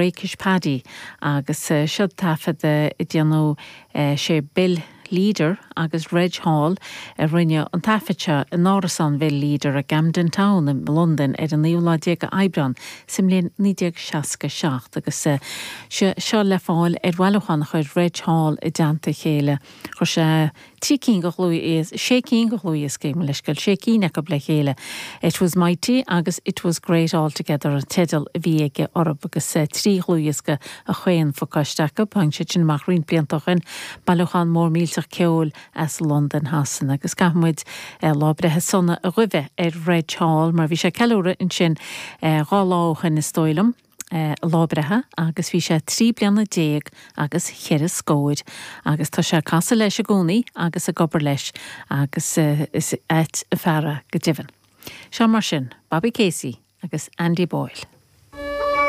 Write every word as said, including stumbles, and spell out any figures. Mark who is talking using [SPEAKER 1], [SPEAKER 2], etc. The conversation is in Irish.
[SPEAKER 1] Rakish Paddy agus seo taifead a déanadh sé Bill Leader agus Reg Hall a rinne an taifead seo in árasán Bill Leader i Camden Town i Londain ar an naoú lá déag Aibreán sa mbliain naoi déag seasca seacht agus seo le fáil ar bhailiúchán a chuir Reg Hall i dteannta a chéile. Chuir sé trí cinn de dhlúthdhioscaí, sé cinn de dhlúthdhioscaí mo leithscéal, sé cinn acu le chéile. It was mighty agus It was great altogether an teideal a bhí aige orthu agus trí dhlúthdhiosca a chaon phacáiste acu, tháinig siad sin amach roinnt blianta ó shin, bailiúchán mór millteach ceoil as Londain Shasana agus caithfidh muid lá breithe sona a ghuí ar Reg Hall mar bhí sé ceiliúradh ansin dhá lá ó shin is dóigh liom. lá breithe agus bhí sé trí bliana déag agus cheithre scór agus tá sé ag casadh leis i gcónaí agus ag obair leis agus is ait an fear é go deimhin. Seo mar sin, Bobby Casey agus Andy Boyle.